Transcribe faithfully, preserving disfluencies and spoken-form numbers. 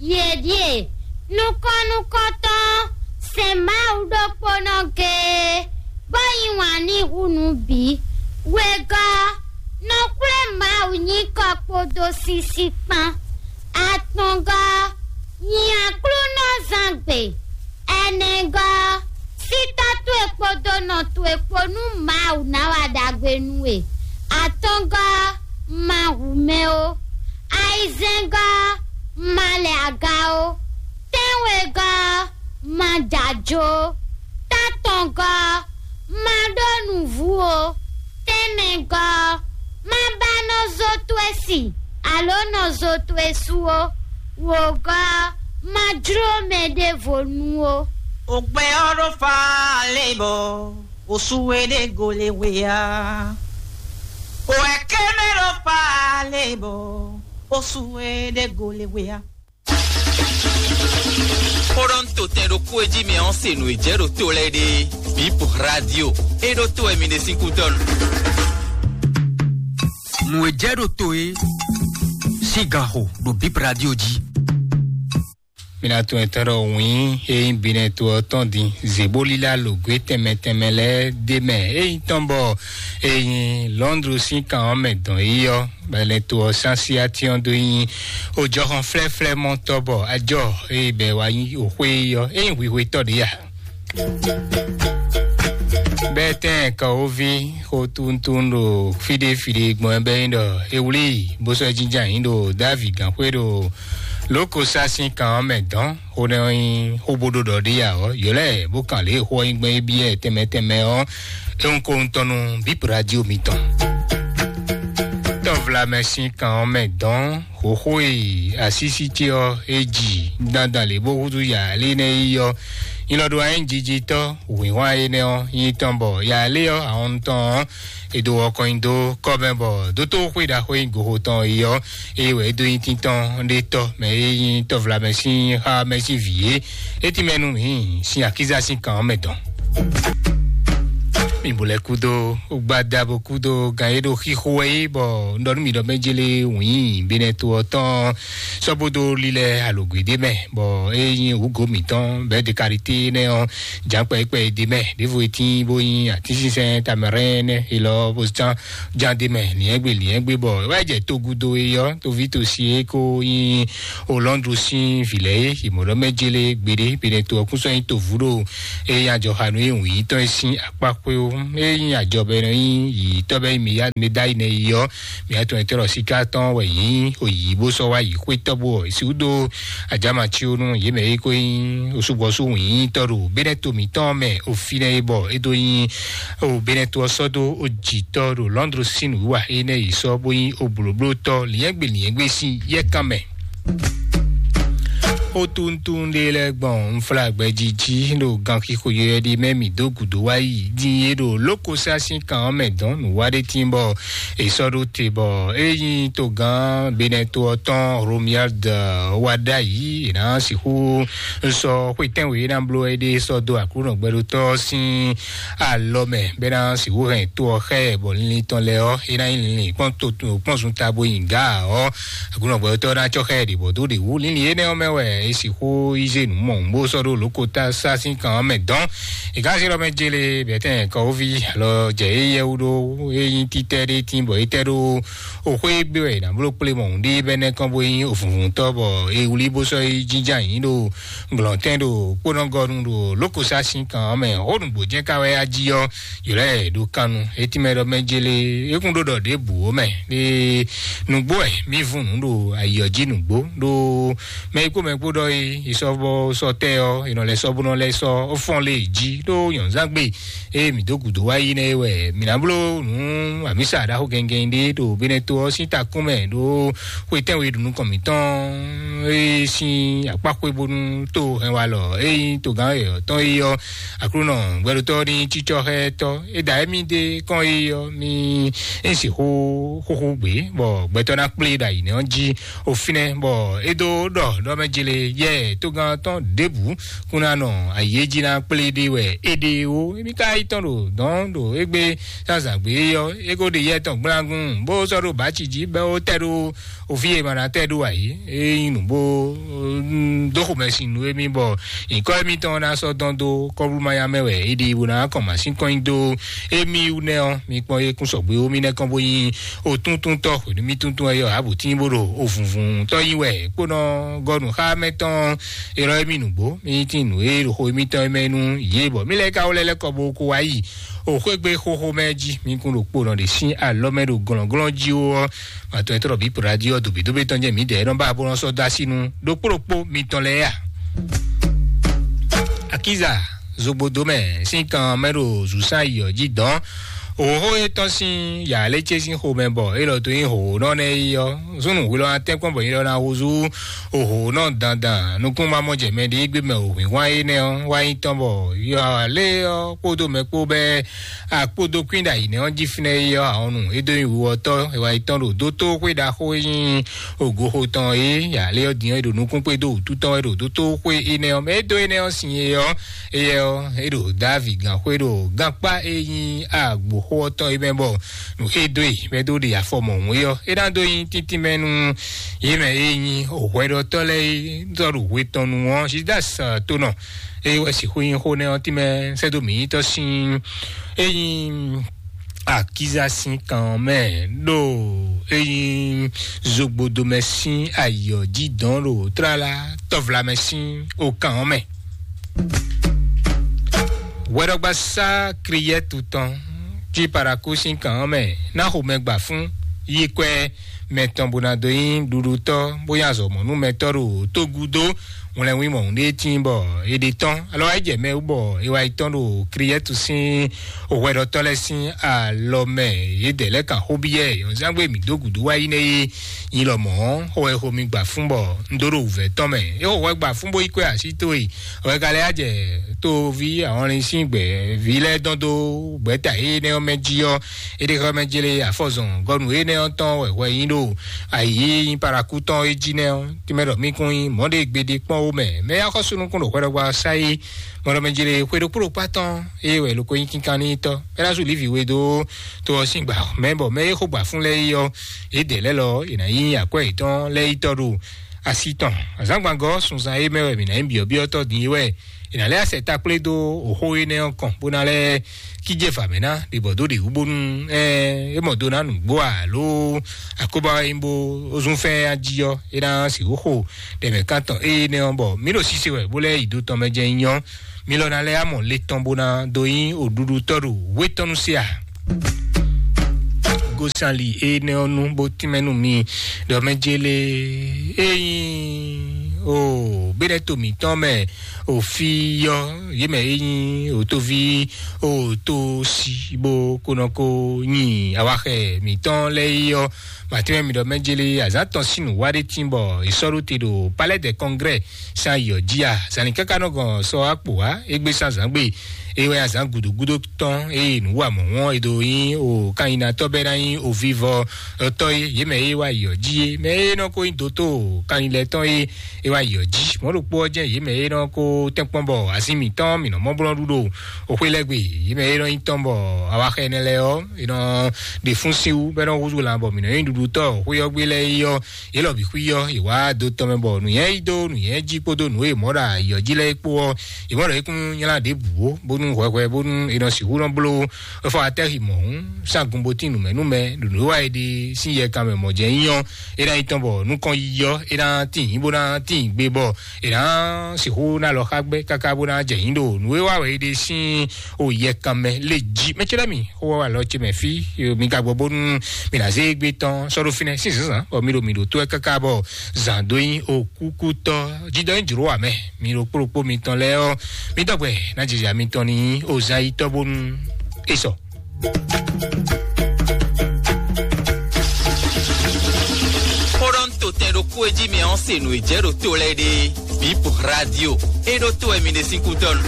Yě ɖíe nukɔn nukɔntɔn sɛn Mawu ɖokpónɔ géé, bó yí wǎn n'i hú nǔ bǐ. Wegɔ́ nɔ xwlé Mawu nyǐkɔ kpódó sísí kpán. Atɔngɔ́ nyi Aklúnɔzángbe. Ɛnɛgɔ́ sí tɔ́ towe kpódó nɔ towe kpó nú Mawu ná wa ɖagbe nú we. Atɔngɔ́ ma hu mɛ ó. Ayizɛ́ngɔ́ ma lɛ aga ó. Tɛ́nwegɔ́ ma jǎjó. Tátɔngɔ́ ma ɖó nǔvú ó. Tɛ́nmɛgɔ́ ma ba nɔ zó towe si, alǒ nɔ zó towe sú ó. Wǒgɔ́ ma jló mɛ ɖěvo nu ó. Ogbɛ ɔ́ ɖo fa lé bɔ osu e ɖe go le we ya. O ɛkɛmɛ ɖo fa lé bɔ osu e ɖe go le we ya. Kpɔɖɔn to tɛn ɖokpó e jí mi ɔ́ se nǔ e jɛ ɖo to lɛ́ɛ ɖe. Bip Radio e ɖo to wɛ mi ɖe sín kútɔ́ nu. Nǔ e jɛ ɖo to e sín gan xo ɖo Bip Radio jí. Mi ná tunwun etɔ́ ɖɔ wǐin e nyí binɛ to ɔ́ tɔn din zě bó lílá lǒgwé tɛnmɛ tɛnmɛ lɛ́ɛ ɖ'é mɛ. E nyí tɔn bɔ e nyí Lɔndlu sín kan ɔ́ mɛ dɔn yi ɔ́, bɛlɛ to ɔ́ sín asyátín ɔ́ dó nyí ojɔhɔn flɛ́flɛ́ mɔtɔ́ bɔ ajɔ e bɛ wá nyí òxwé yi ɔ́, e nyí hwihwetɔ́ ɖě ya. Bɛtɛn kɔwóví xó tuntun ɖo fíɖé fíɖé gbɔn ɛ bɛ nyí ɖɔ e wlí bó sɔ́ jínjɔ́n ayǐ ɖo Davi gǎnxwé ɖo lókosá sín kan ɔ́ mɛ dɔn. Xó nɛ́ ɔ́ nyí xó bó ɖó ɖɔ ɖé ya ɔ́, yǒ lɛ́ɛ bó kan lě e xó ɔ́ nyí gbɔn é byɔ́ ɛ tɛnmɛ tɛnmɛ ɔ́, é wún kó ŋutɔ́ nú Bíp Radio mitɔn. Tɔ́vlamɛ sín kan ɔ́ mɛ dɔn xóxó e asísí ce ɔ́ é ji dandan lě bó húzú yǎ lé nɛ́ yi ɔ́, nyilɔ ɖó ayíjijitɔ́ wǐnhwan énɛ́ ɔ́ nyí tɔn bɔ yǎ lé ɔ́ ahɔn tɔn ɔ́, è dó wɔkɔn nyi dó kɔ́ mɛ bɔ dótó xwé ɖaxó e nyí goxo tɔn é ɔ́, é wɛ é dó nyí tíntɔ́n ɖé tɔ́ mɛ e nyí tɔ́vlamɛ sín xá mɛ sín vǐ é. É tínmɛ nú mǐ sín akíza sín kan ɔ́ mɛ tɔn. Mi bo lɛ́ kúdó gbada bo kúdó gan e ɖo xixo wɛ é bɔ un ɖɔ nú mi ɖɔ mɛ jélé wǐin binɛ to ɔ́ tɔn sɔ́ bó dó lílɛ́ alǒgbe ɖé mɛ bɔ é nyí wǔgǒ mǐtɔn bɛ́ de karité nɛ́ ɔ́ jǎnkpɛ kpɛ ɖé mɛ ɖěvo e tín bó nyí atínsínsɛ́n tamɛrɛ́n nɛ́ é lɔ bó zán jan ɖé mɛ liɛ́ngbé liɛ́ngbé bɔ é wá jɛ togudo e ɔ́ toví tosi e ko nyí Hollande sín vǐ lɛ́ɛ é. Yě mɔ ɖɔ mɛ jélé gbeɖé benɛ to ɔ́ kún sɔ́ nyí tovu ɖo eye ajɔxanu e wǔ yí tɔn e sín akpá xwé ó. E nyí ajɔ bɔ è nɔ nyí yǐyítɔ́ bɔ é nyí mǐ ya mɛ ɖ'ayǐ nɛ yi ɔ́, mǐ atɔn e tɔ́ ɖɔ síká tɔn wɛ yě nyí oyǐ bó sɔ́ wá yǐ xwé tɔ́ bó ɔ́, è sixú dó ajama cí ó nú yě mɛ e ko nyí osúgbɔ́sú wǐnyítɔ́ ɖo Benɛto mǐtɔn mɛ o fínɛ́ é bɔ é dó nyí o Benɛto ɔ́ sɔ́ dó o jǐtɔ́ ɖo Lɔndlu sín nǔwiwa énɛ́ yi sɔ́ bó nyí o blǒblótɔ́ liɛ́ngbé liɛ́ngbé sín yɛ́kan mɛ. Xótuntun ɖé lɛ́ɛ gbɔn unflágbɛjí jí ɖo ganxixo yɔyɔ́ ɖé mɛ mǐ dó gǔdo wá yi dín é ɖo lókosá sín kan ɔ́ mɛ dɔn nǔwa ɖé tín bɔ è sɔ́ ɖó te bɔ é nyí togán Benɛto ɔ́ tɔn Romuald wá ɖ'ayǐ è nǎ sixú sɔ́ xwetɛ́nwe e ná bló é ɖe sɔ́ dó Aklúnɔ gbɛɖótɔ́ sín alɔ mɛ bɔ é ná sixú hɛn to ɔ́ xá ɛ bɔ linlin tɔn lɛ́ɛ ɔ́ é ná nyí linlin kpɔ́n to kpɔ́n zunta bó nyi gǎ ɔ́ Aklúnɔ gbɛɖótɔ́ ná cɔ́ xá ɛ ɖě bɔ dó ɖě wú. Linlin énɛ́ ɔ́ mɛ wɛ é sixú yi zé nǔ mɔ̌ bó sɔ́ ɖó lǒkotá sá sín kan ɔ́ mɛ dɔn. È ká sixú ɖɔ mɛ jélé bɛ̌tɛn kɔwóví alɔ jɛ éyɛ́ wú ɖó é nyí títɛ́ ɖé tín bɔ é tɛ́ ɖó o xwé gbe wɛ è nǎ bló kplé mɔ̌hun ɖé bɔ é nɛ́ kɔn bó nyí ovǔnvúntɔ́ bɔ è wlí bó sɔ́ yi jínjɔ́n ayǐ ɖo glɔ̌ntɛn ɖo kpónɔgɔnu ɖo lókosá sín kan ɔ́ mɛ. Xó nǔgbó jɛ́n ka wɛ á jí ɔ́, yǒ lɛ́ɛ ɖo kannu. É tínmɛ ɖɔ mɛ jélé é kún ɖó ɖɔ ɖěbǔ ó mɛ ɖé nǔgbó wɛ mí vún nǔ ɖo ayǐ ɔ́ jí nǔgbó ɖó mɛ yi kpó mɛ kpó ɖɔ é è sɔ́ bɔ sɔ́ tɛ́ ɔ́ è nɔ lɛ́ sɔ́ bó nɔ lɛ́ sɔ́ fɔ́n lé jí ɖó nyɔ̌nzángbe ée mǐ dó gǔdo wá yi nɛ́ é wɛ mǐ ná bló nǔ amǐsa ɖaxó gɛngɛn ɖé ɖo Benɛto ɔ́ sín takún mɛ ɖó xwetɛ́nwe ɖo nukɔn mǐtɔn e sín akpá xwé bónú tó hɛn walɔ e nyí togán yɔ̌yɔ́ tɔn é ɔ́ Aklúnɔ gbɛɖótɔ́ ní cícɔ́ xá ɛ tɔ́ é da émí ɖe kɔn é ɔ́ mí é sixú xúxú gbé bɔ gbɛtɔ́ ná kplé ɖo ayǐ nɛ́ ɔ́ jí o fínɛ́ bɔ é dó ɖɔ ɖɔ mɛ jélé yɛ tógán tɔn ɖěbǔ kún ná nɔ ayǐ é jí ná kplé ɖé wɛ é ɖe ó. Émí ka yi tɔn ɖo dɔ̌n ɖo égbé zǎnzǎn gbé ɔ́ é ko ɖe yɛ tɔn gblágún bó sɔ́ ɖo bǎci jí bɔ é tɛ ɖó òfin e ma ná tɛ ɖó ayǐ é nyí nǔ bó dó xomɛ sin nú émí bɔ nyǐkɔ émítɔn ná sɔ́ dɔn dó kɔ́blúmanya mɛ wɛ é ɖi bó ná kɔn mǎsín kɔn nyi dó émí wú nɛ́ ɔ́, mi kpɔ́n é kún sɔgbe ó mí nɛ́ kɔn bó nyí òtúntúntɔ́ hwenu mí túntún ɛ yɔ ǎbǔtín bó ɖo òvùnvùntɔ́ nyi wɛ kpónɔ gɔ́ nǔ xá mɛ tɔn é lɔ émí nǔgbó mí tín nǔ e ɖo xo émítɔn é mɛ nú yě bɔ mí lɛ́ ka wó lɛ́ lɛ́ kɔ bó kó wá yi o xwégbe xóxó mɛ jí mi kún ɖo kponɔ ɖe sín alɔ mɛ ɖo glɔ̌nglɔ́n jí ó ɔ́, matɔn e tɔ́ ɖɔ bí radio ɔ́ dobǐdóbí tɔn jẹ́ mǐdɛɛ nɔ ba bó nɔ sɔ́ dó así nú ɖokpó ɖokpó mitɔn lɛ́ɛ a? Akiza zogbodo mɛ sín kan mɛ ɖo zǔsán yi ɔ́ jí dɔn. Òhóhó e tɔn sín yǎ lé ce sín xomɛ bɔ é lɔ tó nyí hǒhónɔ nɛ́ é ɔ́, súnnu hwilɔ atɛ́nkpɔ́n bɔ nyí lɔ ná húzú òhǒhónɔ dandan nukúnmamɔjɛmɛ ɖé gbé mɛ òhwǐnhwan énɛ́ ɔ́ wá nyí tɔn bɔ yɔ alé ɔ́ kpódó mɛ kpó bɛ́ akpódó kwín ɖo ayǐ nɛ́ ɔ́ jí fínɛ́ é ɔ́, ahɔnnu é dó nyí wiwɔtɔ́ é wá yi tɔn ɖo dótóxwé ɖaxó e nyí ògoxo tɔn é yǎ lé ɔ́ din ɔ́ é ɖo nukún kpé dó wǔtu tɔn wɛ ɖo dótóxwé énɛ́ ɔ́ mɛ é dó énɛ́ ɔ́ sin é ɔ́, éyɛ́ ɔ́ é ɖo Davi gǎnxwé ɖo gánpá e nyí agboxó ɔ́ tɔn é mɛ bɔ nǔ e dó e mɛ dó ɖe afɔ mɔ̌hun é ɔ́ é ná dó nyí tíntín mɛ nú yě mɛ e nyí hwɛɖɔtɔ́ lɛ́ɛ é tɔ́ ɖo hwe tɔn nu ɔ́ Judas tonɔ é wɛ sixú nyí xó nɛ́ ɔ́ tínmɛ sɛ́dó mǐnyítɔ́ sín é nyí akíza sín kan ɔ́ mɛ ɖo é nyí zogbodomɛ sín ayǐ ɔ́ jí dɔn ɖo tlala tɔvlamɛ sín okan ɔ́ mɛ. Hwɛɖɔgbasá Kriyɛtu tɔn jí Paraku sín kan ɔ́ mɛ ná xomɛ gba fún yi kwɛ mɛ tɔn bó ná dó nyí ɖuɖutɔ́ bó nyí azɔ̌mɔnúmɛtɔ́ ɖo tógúdó wlɛnwímɔ ɖé tíin bɔ è ɖe tɔ́n alɔ wá yi jɛ mɛ wú bɔ è wá yi tɔ́n ɖo Kriyɛtu sín hwɛɖɔtɔ́ lɛ́ɛ sín alɔ mɛ. Yědɛɛ lɛ́ɛ kan xó byɔ́ ɛ yɔ̌nzángbe mǐ dó gǔdo wá yi nɛ́ é nyi lɔmɔ̌ xó wɛ xo mi gba fún bɔ un dó ɖo wǔvɛ́ tɔn mɛ. É xo hwɛ gba fún bó yi kwɛ́ así towe wɛ ka lɛ́ yá jɛ tóví ahɔnlin sín gbɛ̌ví lɛ́ɛ dɔn dó gbɛ̌ta énɛ́ ɔ́ mɛ jí ɔ́, é ɖe xɔ mɛ jele afɔzɔn gɔnu énɛ́ ɔ́ tɔn wɛ hwɛ nyí ɖo ayǐ e nyí Paraku tɔn é jí nɛ́ ɔ́, tínmɛ ɖɔ mí kún nyí mɔ̌ ɖé gbeɖé kpɔ́n ó mɛ. Mɛ axɔ́sú nukún ɖo hwɛɖɔgbá ɔ́ sá é, mɔɖɔmɛ jele xwe ɖokpó ɖokpá tɔn é wɛ loko nyí kínkan n'i tɔ́. É ná sú Livi we dó to ɔ́ sín gbǎ mɛ bɔ mɛ é xó gbǎ fún lɛ́ɛ é ɔ́, yědɛɛ lɛ́ɛ lɔ è nǎ nyí akwɛ́ yětɔn lɛ́ɛ yi tɔ́ ɖo asi tɔn. Azǎngbangɔ́ sunzan é mɛ wɛ mǐ ná nyí byɔ̌byɔ́tɔ́ din é wɛ è nǎ lɛ́ asɛ takplé dó oxó énɛ́ ɔ́ kɔn bó ná lɛ́ kíjé vǎ mɛ ná ɖi bɔ dó ɖe wú bónú ɛ é mɔ dó ná nǔgbó alo akóbá wɛ nyí bó zún fɛ́n ají ɔ́ é ná sixú xo ɖɛmɛ kántɔn énɛ́ ɔ́ bɔ mí ɖo sise wɛ bó lɛ́ yi do tɔn mɛ jɛ nyí ɔ́, mí lɔ ná lɛ́ amɔ le tɔn bó ná dó nyí òɖuɖutɔ́ ɖo wétɔ́nu se a? Gosali énɛ́ ɔ́ nú bó tínmɛ nú mi ɖɔ mɛ jele ényí o bínɛ́ to mǐtɔn mɛ òfíyɔ yě mɛ ényí òtóví òtó sí bó kó nɔ kó nyi awaxɛ mǐtɔn lɛ́ɛ yi ɔ́, màtínmɛ mi ɖɔ mɛ jele azǎn tɔn sín nǔ wá ɖé tín bɔ è sɔ́ ɖó te ɖo Palais des Congrès sín ayǐ ɔ́ jí a? Zǎn ní káká nɔ gɔn sɔ akpò wá égbé sín azǎn gbe. É wɛ azǎn gǔdógúdó tɔn eye nǔ wa mɔ̌ wɔn e ɖo nyí o kanyinatɔ́ bɛ́ ná nyí o vivɔ tɔ́ é yě mɛ e wá yi ɔ́ jí é mɛ e nɔ ko nyí dótó kanyinlɛtɔ́ é e wá yi ɔ́ jí. Mɔ̌ ɖokpó ɔ́ jẹ́ yě mɛ e nɔ ko tɛ́nkpɔ́n bɔ azín mǐtɔn mǐ nɔ mɔ blɔ́ ɖu ɖo oxwé lɛ́ɛ gbe. Yě mɛ e nɔ nyí tɔn bɔ awaxɛ énɛ́ lɛ́ɛ ɔ́ è nɔ ɖe fún sín wú bɔ é nɔ húzú lan bɔ mǐ nɔ nyí ɖuɖutɔ́ xwé ɔ́ gbé lɛ́ɛ é ɔ́, yě lɔ bǐ xwí ɔ́ è wá do tɔn mɛ bɔ nǔnyɛ yí dó nǔnyɛ jí kpódó nǔ e mɔ̌ ɖo ayǐ ɔ́ jí lɛ́ɛ é kpó ɔ́, yě mɔ ɖɔ é kún nylá ɖěbǔ ó bónú hwɛhwɛ bónú è nɔ sixú nɔ bló efɔ atɛ́xi mɔ̌hún sín agunbotín nǔmɛnúmɛ ɖo nǔ e wa è ɖe sín yɛ kan mɛ mɔ̌ jɛ nyí ɔ́, é ná yi tɔn bɔ nukɔn yiyi ɔ́ é ná tín bó ná tín gbe bɔ è nǎ sixú ná lɔ xá gbɛ́ káká bó ná jɛ nyí ɖo nǔ e wa wɛ è ɖe sín o yɛ kan mɛ lé jí. Mɛ ce lɛ́ɛ mi xó wá wà lɔ ce mɛ fí mi ka gbɔ bónú mi ná zé gbé tɔn sɔ́ ɖó fínɛ́ sín zǎnzǎn bɔ mi ɖo mi ɖo tó ɛ káká bɔ zǎn dó nyí o kúkútɔ́ jídɔ́ nyí jlǒ wǎ mɛ. Mi ɖo kplɔ́kpó mitɔn lɛ́ɛ ɔ́, mi dɔgbɛ ná jija mitɔn ní ozayitɔ́ bónú é sɔ. Xó ɖɔ ń to tɛn ɖokpó e jí mi ɔ́ se nǔ e jɛ ɖo to lɛ́ɛ ɖe. Bip Radio. E ɖo to wɛ mi ɖe sín kútɔ́ nu.